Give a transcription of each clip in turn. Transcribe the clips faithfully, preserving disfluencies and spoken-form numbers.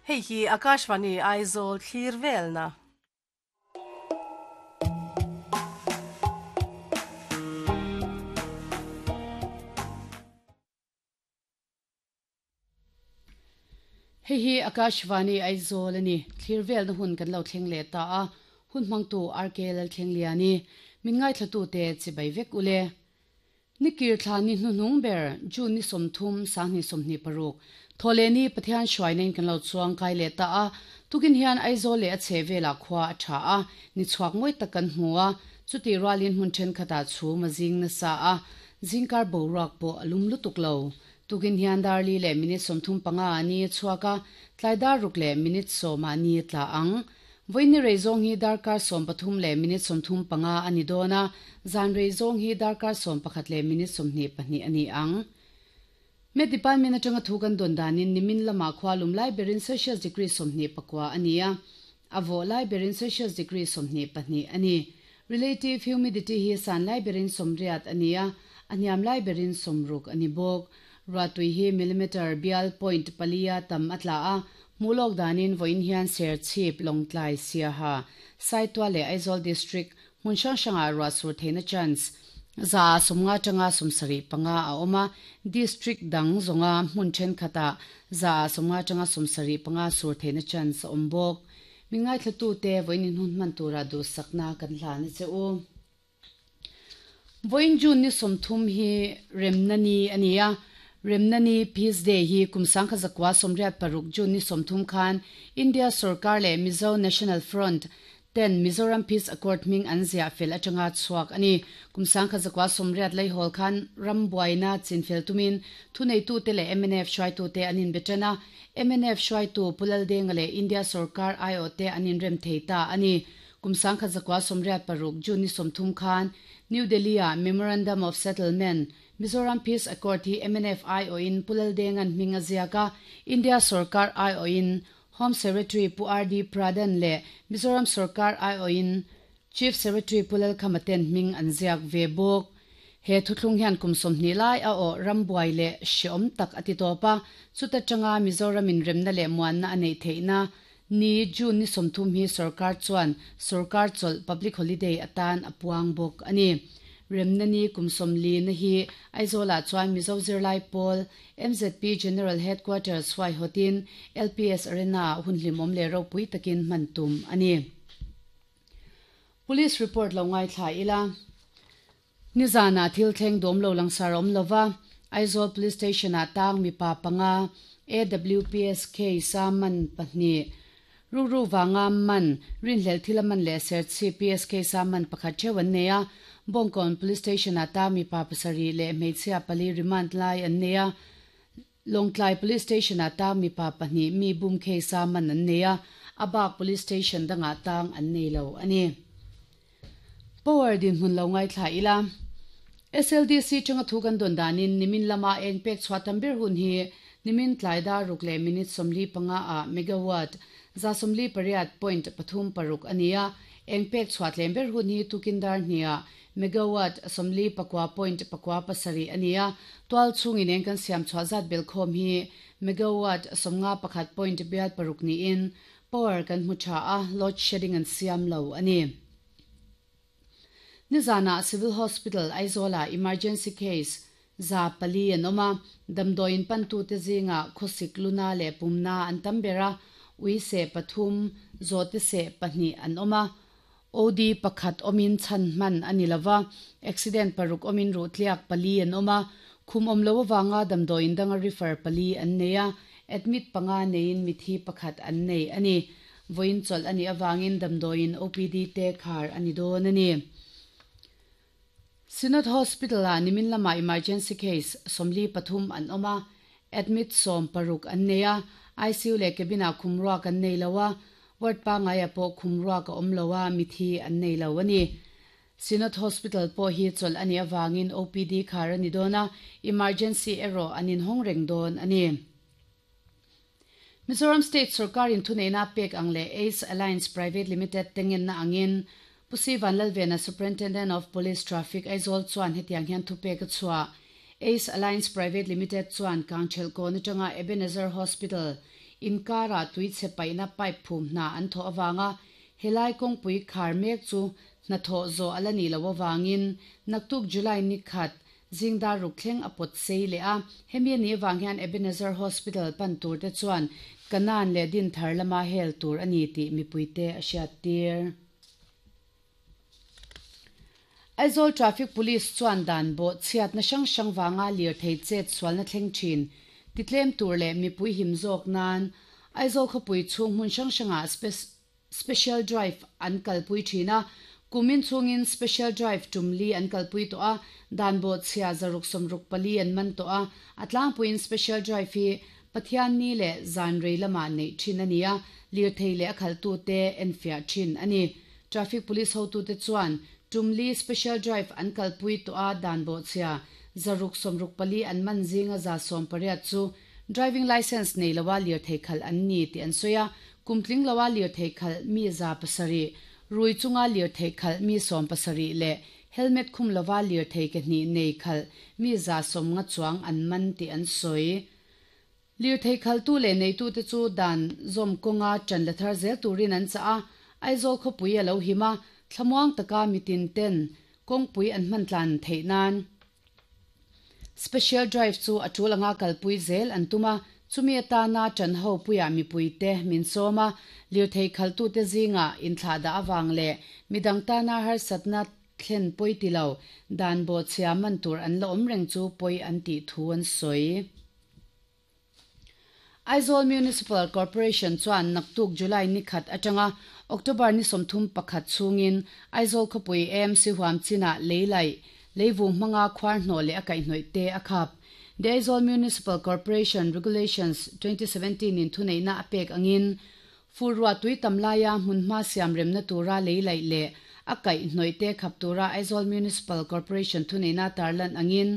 Hei hi Akashvani Aizawl thlir velna. Hei hi Akashvani Aizawl ani thlir velna hun kan lo thleng le ta a hun hmangtu R K Lal thleng liani min ngai thlatu te chibai vek ule. Nikir thla ni hnunung ber June ni somthum sangni somni paruk tholeni Pathian hruainen kan lo chuang kai le ta a tukin hian Aizawl le a chhevela khwa a tha a ni chuak moi tak kan hmua chuti ralin hun then khata chu majing na sa a jingkar borak po alum lutuk lo tukin hian darli le minute somthum panga ani chuaka tlaidar ruk le minute soma ni tla ang voini reizong hi darkar som pathum le minute somthum panga ani dona zan reizong hi darkar som pakhat le minute somni pahnih ani ang. Me department atanga thukan don danin nimin lama khwalum lai berin Celsius degree somni pakwa ania avo lai berin Celsius degree somni pahnih ani relative humidity hi san lai berin somriat ania aniam lai berin somruk ani bok ratui hi millimeter bial point palia tam atla a mulok danin voin hian ser chip longtlai sia ha saitwa le Aizawl district hmun hrang hranga ruah sur theihna chance za somnga tanga somsari panga a awma district dang zonga hmun then khata za somnga tanga somsari panga sur theihna chance a awm bawk mingai thlatu te voinin hun hman tura du sakna kan hlan che u. Voin June ni somthum hi remnani ania Remnani Peace Day hi kumsang kha zakwa somriat paruk June ni somthum khan India Sarkar le Mizo National Front ten Mizoram Peace Accord ming an zia fel atanga chuak ani kumsang kha zakwa somriat lai hol khan rambuaina chinfel tumin thunei tu te le M N F hruai tu te anin betana M N F hruai tu Pulal Deng le India Sarkar I O te anin rem theita ani kumsang kha zakwa somriat paruk June ni somthum khan New Delhi a Memorandum of Settlement Mizoram Peace Accord hi M N F I O in Pulal Dengan hminga ziaka India Sarkar I O in Home Secretary Pu R D Pradhan le Mizoram Sarkar I O in Chief Secretary Pulal Khamaten hming an ziak ve bawk he thuthlung hian kum sawmhnih lai a aw rambuai le hreawm tak ati tawpa chuta tanga Mizoram in remna le muanna a nei theihna ni June ni sawmthum hi Sarkar chuan Sarkar chawlh public holiday atan a puang bawk ani. Remnani kumsomli na hi Aizawl chuan Mizo Zirlai Pawl M Z P General Headquarters huai hotin L P S Arena hun hlimawm le ropui takin hman tum ani. Police report lo ngai thla ila nizana thil thleng dawm lo langsar awm lova Aizawl Police Station ah tang mipa panga A W P S K saman pahnih Ruru wanga man rinhlel thil man le ser C P S K saman pakhat thewan neia Bongkon Police Station ata mi pa pasari le hmeichhia pali remand lai an neia Longtlai Police Station ata mi pa pahnih mi bum khe saman an neia Abak Police Station danga tang an nei lo ani. Power din hun lo ngai thla ila S L D C changa thukan don danin nimin lama eng pek chhuatam ber hun hi nimin tlaida ruk le minute somli panga a megawatt za somli pariat point pathum paruk ania eng pek chhuat lem ber hun hi tukindar hnia megawatt somli pakwa point pakwa pasari ania twal chungin eng kan siam chhuat zat bel khom hi megawatt somnga pakhat point biat paruk ni in power kan hmu tha a load shedding an siam lo ani. Nizana Civil Hospital Aizawl emergency case za pali anoma damdoin pantu te zinga khosik luna le pumna an tambera ui se pathum zote se pahnih an oma O D pakhat omin chan man ani lova accident paruk omin ru tliak pali an oma khum om lo wanga damdoin danga refer pali an neia admit panga nein mithi pakhat an nei ani voin chol ani awangin damdoin O P D te khar ani don ani. Synod Hospital a nimin lama emergency case somli pathum an oma admit som paruk an neia I C U le cabina khumruwa kan nei lowa ward pa ngaia po khumruwa ka awm lowa mithi an nei lo ani. Synod Hospital po hi chol ani awangin O P D khar ani dona emergency ero anin hong reng don ani. Mizoram State Sarkar in thuneina pek ang le Ace Alliance Private Limited tengen na angin Pusi Vanlalvena Superintendent of Police Traffic Aizawl chuan hetiang hian thu pek a chhuah Ace Alliance Private Limited chuan Kangchel ko ni tanga Ebenezer Hospital Inkara tuichhe paihna pipe phum hna an thawh awanga helai kawngpui khar mek chu hnathawh zawh ala nih loh awangin naktuk July ni khat zingdar ruk thleng a pawt sei leh a hemi ani awang hian Ebenezer Hospital pan tur te chuan kanan leh din thar lama hel tur ani tih mipuite a hriat tir. Aizawl Traffic Police chuan dan bo chhiat na hrang hrang wanga lir thei chet sualna thleng thin titlem tur leh mipui him zawk nan Aizawl khawpui chhung hmun hrang hranga special drive an kalpui thina kumin chungin special drive tumli an kalpui to a dan bo chhia zaruk somruk pali an man to a atlangpuin special drive hi Pathian ni le zan rei lama nei thin ania lir thei le a khaltu te enfia thin ani. Traffic Police hotu te chuan tumli special drive an kalpui to a dan bo chhia zaruk somruk pali an man zinga za som pariat chu driving license nei lawa lir thei khal an ni ti an soya kumtling lawa lir thei khal mi za pasari rui chunga lir thei khal mi som pasari le helmet khum lawa lir thei ke ni nei khal mi za som nga chuang an man ti an soi. Lir thei khal tu le nei tu te chu dan zom konga chan la thar zel turin an cha a Aizawl khawpui a lo hima thlamuang taka mitin ten kawngpui an hman tlan theih nan special drive chu a tul anga kalpui zel an tuma chumi atana chan ho puia mipui te min sawma lir thei khal tu te zinga inthla da awang le midang tana har satna thlen poi ti lo dan bo chhia man tur an la awm reng chu poi an ti thu an sawi. Aizawl Municipal Corporation chuan naktuk July ni khat atanga October ni somthum pakhat chungin Aizawl khawpui M C huam china leilai leivung hmanga khwar hnaw leh a kaihhnawih te a khap. The Aizawl Municipal Corporation Regulations twenty seventeen in thuneihna a pek angin furwa tui tamlaia hmunhma siam remna tura leilai le a kaihhnawih te khap tura Aizawl Municipal Corporation thuneihna tarlan angin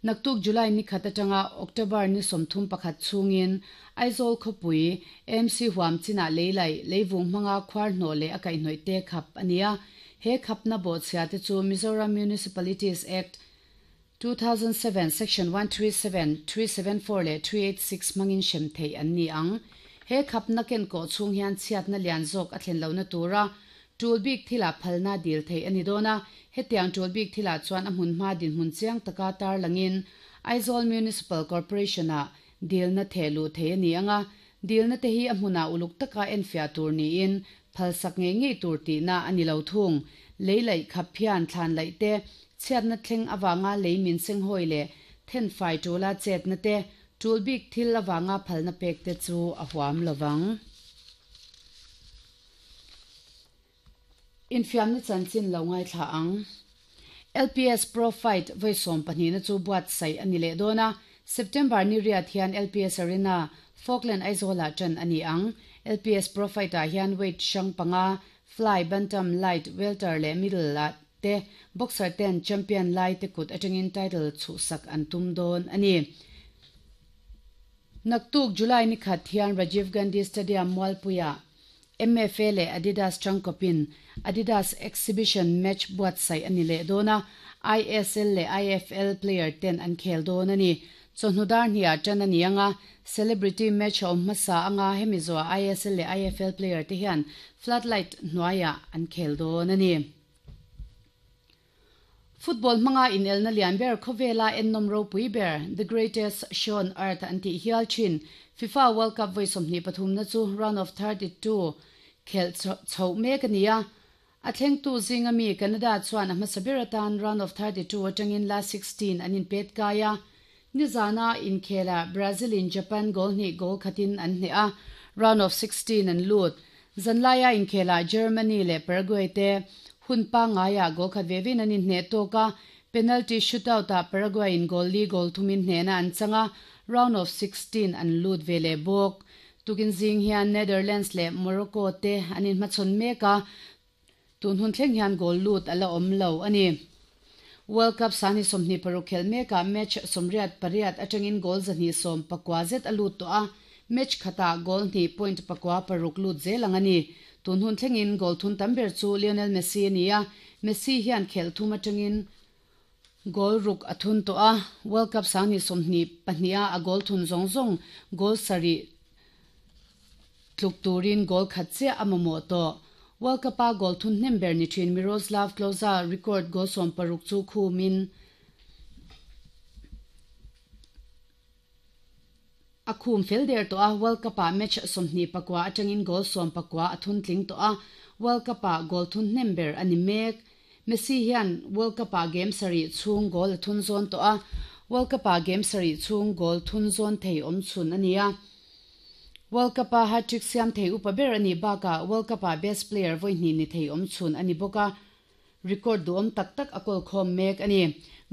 naktuk July ni khat atanga October ni somthum pakhat chungin Aizawl khawpui M C huam china leilai leivung hmanga khwar hnaw leh a kaihhnawih te khap ania he khapna bo chhia te chu Mizoram Municipalities Act two thousand seven section one three seven, three seven four le three eight six mangin shem thei an ni ang he khapna ken ko chung hian chhiatna lian zawk a thlen lohna tura tul bik thila phalna dil thei ani dona hetiang tul bik thila chuan a hmun hma din hmun chiang taka tar langin Aizawl Municipal Corporation a dilna thelu thei ani anga dilna te hi a hmuna uluk taka enfia tur ni in phalsak nge nge tur ti na ani lo thung leilai khap phian thlan lai te chhiatna thleng awanga leimin seng hoi le then fai tula chetna te tul bik thil awanga phalna pek te chu a huam lowang. Infiamna chanchin lo ngai thla ang L P S Pro Fight voisom pahnih na chu buat sai ani le dona September ni riat hian L P S Arena Falkland Aizawl ah chan ani ang L P S Pro Fight ah hian weight hrang panga fly bantam light welter le middle ah te boxer ten champion lai te kut atangin title chu sak an tum don ani. Naktuk July ni khat hian Rajiv Gandhi Stadium Mualpuia M F A le Adidas Changkopin Adidas Exhibition Match buat sai ani le dona I S L le I F L player ten an khel don ani chawhnudar hnia tan ani anga celebrity match awm hmasa anga hemi zawh I S L le I F L player te hian floodlight hnuaiah an khel don ani. Football hmanga inelna lian ber khawvela ennom ropui ber The Greatest Show on Earth an tih hial thin FIFA World Cup vawi sawmhnih pathum na chu round of thirty-two khel chho mek ania a thleng tu zinga mi Canada chuan a hmasa ber atan round of thirty-two atangin last sixteen an inpet kaia nizana inkhela Brazil in Japan goal hnih goal khatin an hne a round of sixteen an lut zanlaia inkhela Germany le Paraguay te hun pa ngaya goal khat vevin an inhne toka penalty shootout a Paraguay in goal li goal thumin hnena an changa round of sixteen an lut vele bok tukin zing hian Netherlands le Morocco te an in hmachhawn meka tun hun thleng hian goal lut ala awm lo ani. World Cup sani sawmhnih paruk khel meka match sawmriat pariat atangin goal zahnih sawm pakua zet a lut tawh a match khata goal hnih point pakua paruk lut zel ang ani tun hun thlengin goal thun tam ber chu Lionel Messi ani a Messi hian khel thum atangin goal ruk a thun tawh a World Cup sani sawmhnih pahnih a a goal thun zawng zawng goal sarih Tluk turin goal khat chiah a mamawh tawh. World Cup-a goal thun hnem ber ni thin Miroslav Klose record goal sawm paruk chu khumin a khum fel der tawh a. World Cup-ah match sawmhnih pakua atangin goal sawm pakua a thun tling tawh a. World Cup-ah goal thun hnem ber a ni mek. Messi hian World Cup-ah game sarih chhung goal a thun zawn tawh a. World Cup-ah game sarih chhung goal thun zawn thei awm chhun a ni a. World Cup-a hat-trick siam thei upa ber a nih bakah World Cup-ah best player vawi hnih ni thei awm chhun a ni bawk a. Record duhawm tak tak a kawl khawm mek a ni.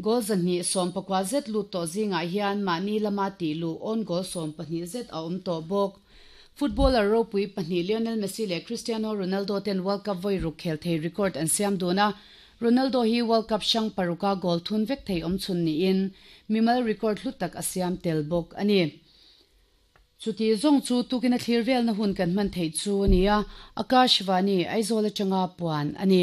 Goal zahnih sawm pakua zet lut tawh zingah hian mahni lama tih luh own goal sawm pahnih zet a awm tawh bawk. Footballer ropui pahnih Lionel Messi leh Cristiano Ronaldo ten World Cup vawi ruk khel thei record an siam dun a. Ronaldo hi World Cup hrang paruka goal thun vek thei awm chhun niin mimal record hlu tak a siam tel bawk a ni. Chuti zawng chu tukin a thlir velna hun kan hman theih chu a ni a, Akashvani, Aizawl atanga puan a ni.